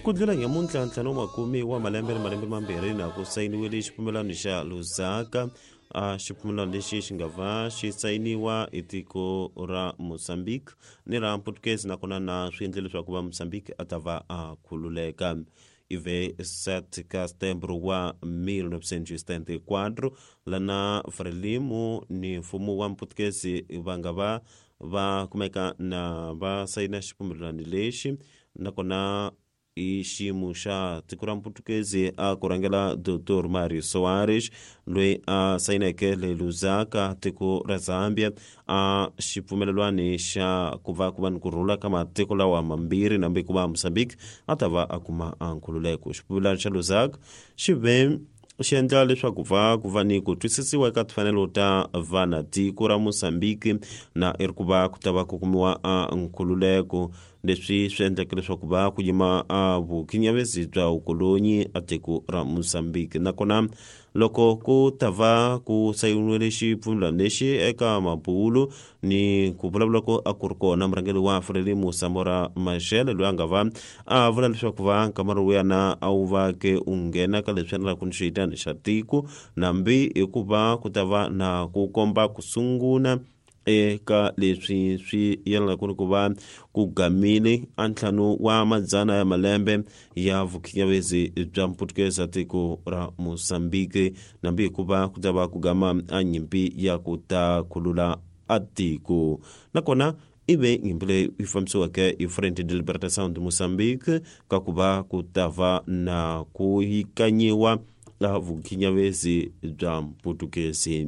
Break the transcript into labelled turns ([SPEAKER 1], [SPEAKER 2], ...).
[SPEAKER 1] Ku ndlula nyamuntlha 50 wa malembe ni malembe mambirhi na ku sayiniwile xipfumelano xa Lusaka. A xipfumelano lexi xi nga va xi sayiniwa hi tiko ra Mozambique ni ra Portuguese, nakona na swi endle leswaku va Mozambique a ta va a khululeka. Ive 7 ka setembro wa 1974, lana Frelimo ni mfumo wa Mputukezi va nga va va kumeka na va sayina xipfumelelano lexi, nakona i xiyimo xa tiko ra Mputukezi a ku rhangela Dr Mario Soares, loyi a sayineke le Lusaka, tiko ra Zambia, a xipfumelelwani xa ku va ku va ni ku rhula ka matiko lawa mambirhi, nambe ku va Mozambique a ta va a kuma a nkhululeko. Xipfumelelano xa Lusaka xi ve xi endla leswaku va ku va ni ku twisisiwa eka timfanelo ta vana tiko ra Mozambique, na i ri ku va ku ta va ku kumiwa a nkhululeko. Leswi swi endleke leswaku va ku yima a vukhinyavezi bya vukolonyi a tiko ra Mozambique. Nakona loko ku ta va ku sayiniwile xipfumelelano lexi eka mabulu ni ku vulavula ko a ku ri kona murhangeri wa Frelimo Samora Machel, loyi a nga va a vula leswaku va nkama lowuyana a wu va ke u nghena ka leswi endlaka ni xiyitani xa tiko, nambi hikuva ku ta va na ku komba ku sungula eka leswi swi yelanaka ni ku va ku gamile a 150 wa madzana ya malembe ya vukhinyavezi bya Mputukeza tiko ra Mozambique, nambi hikuva ku ta va ku gama a nyimpi ya ku ta khulula a tiko. Nakona ive nyimpi leyi yi fambisiweke hi Frente de Libertação de Moçambique ka ku va ku ta va na ku yikanyiwa la vukhinyavezi bya Mputukezi.